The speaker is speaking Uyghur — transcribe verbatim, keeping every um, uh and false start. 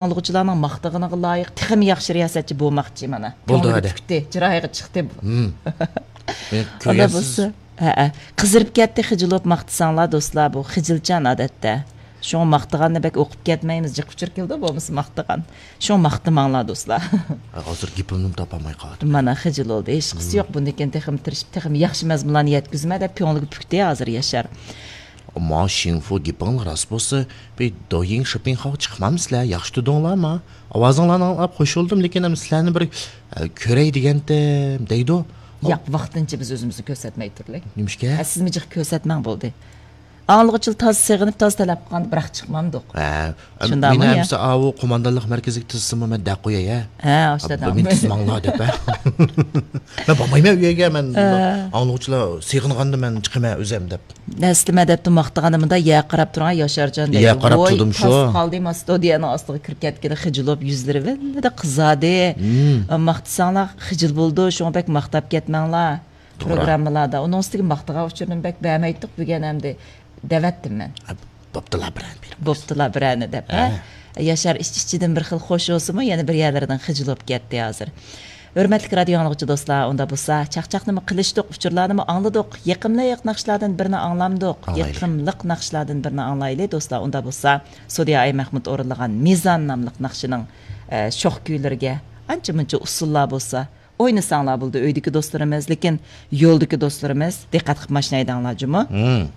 ئاڭلىغۇچىلارنىڭ ماختىغىنىغا لايىق تېخىمۇ ياخشى رىياسەتچى بولماقچى مانا. بولدى كۆڭلىگە ھەدە. پۈكتى، چىرايىغا چىقتى بۇ. ھىم. مېنى ئۇنداق كۆرگەنسىز. بولسا، ھەئە. قىزىرىپ كەتتى خىجىل بولۇپ ماختىساڭلار دوستلار، بۇ خىجىلچان ئادەتتە. شۇڭا ماختىغاننى بەك ئوقۇپ كەتمەيمىز، جىق ئۇچۇر كېلىدۇ بولمىسا ماختىغان. شۇڭا ماختىماڭلار دوستلار. ھازىر گېپىمنىمۇ تاپالماي قالدىم. مانا خىجىل بولدى، ھېچقىسى يوق، بۇندىن كېيىن تېخىمۇ تىرىشىپ، تېخىمۇ ياخشى مەزمۇنلارنى يەتكۈزىمەن دەپ كۆڭلىگە پۈكتى ھازىر ياشار. ئەمما شىڭفۇ گېپىڭ راست بولسا، بىر دويىڭ شوپىڭخاغا چىقمامسىلەر، ياخشى تۇردۇڭلارما؟ ئاۋازىڭلارنى ئاڭلاپ خوش بولدۇم، لېكىن ئەمدى سىلەرنى بىر، ئە، كۆرەي دېگەنتىم، دەيدۇ. ياق، ۋاقتىنچە بىز ئۆزىمىزنى كۆرسەتمەي تۇرلى. نېمىشقا؟ ئە، سىزمۇ جىق كۆرسەتمەڭ بولدى. ئاڭلىغۇچىلار تازا سېغىنىپ، تازا تەلەپ قىلغاندا بىراق چىقمامدۇق. ھە، شۇنداقمۇ مېنى يا؟ ئەمسە ئاۋۇ قوماندانلىق مەركىزىگە تىزسىمۇ مەن دەپ قوياي، ھە؟ ھە، ئاشۇ ئا، دادام. مېنى تىزماڭلار دەپ، ھە؟ مەن بارمايمەن ئۆيگە، مەن ھە. ئاڭلىغۇچىلار سېغىنغاندا مەن چىقىمەن ئۆزۈم دەپ. ئەسلىمە دەپتۇ ماختىغاندا مۇنداق يەر قاراپ تۇرۇڭ، ياشارجان دەيدۇ. يەر قاراپ ۋوي، تۇردۇم شۇ. تاس قالدى، ما ستودىيەنىڭ ئاستىغا كىرىپ كەتكىلى خىجىل بولۇپ يۈزلىرى ۋىللىدە قىزاردى. مم. ماختىساڭلار خىجىل بولىدۇ، شۇڭا بەك ماختاپ كەتمەڭلار. توغرا. پروگراممىلادا. ئۇنىڭ ئۈستىگە ماختىغان ئۇچۇرنى بەك بەرمەيتتۇق بۈگۈن ئەمدى. دەۋەتتىم مەن. ھە، بوپتۇلا بىرەنى بېرىپ. بوپتۇلا بىرەنى دەپ، ھە؟ ھە. ياشار ئىچ-ئىچىدىن بىر خىل خوش بولسىمۇ، يەنە بىر يەرلىرىدىن خىجىل بولۇپ كەتتى ھازىر. ھۆرمەتلىك رادىيو ئاڭلىغۇچى دوستلار، ئۇندا بولسا چاقچاقنىمۇ قىلىشتۇق، ئۇچۇرلارنىمۇ ئاڭلىدۇق، يېقىملىق ناخشىلاردىن بىرنى ئاڭلامدۇق. ئاڭلايلى. يېقىملىق ناخشىلاردىن بىرنى ئاڭلايلى دوستلار. ئۇندا بولسا سودىيا ئايمەخمۇت ئورۇنلىغان مىزان ناملىق ناخشىنىڭ، ئە، شوخ كۈيلىرىگە ئانچە مۇنچە ئۇسسۇللار بولسا، ئوينىساڭلار بولدى ئۆيدىكى دوستلىرىمىز، لېكىن يولدىكى دوستلىرىمىز دىققەت قىلىپ ماشىنا ھەيدەڭلار جۇمۇ. مم.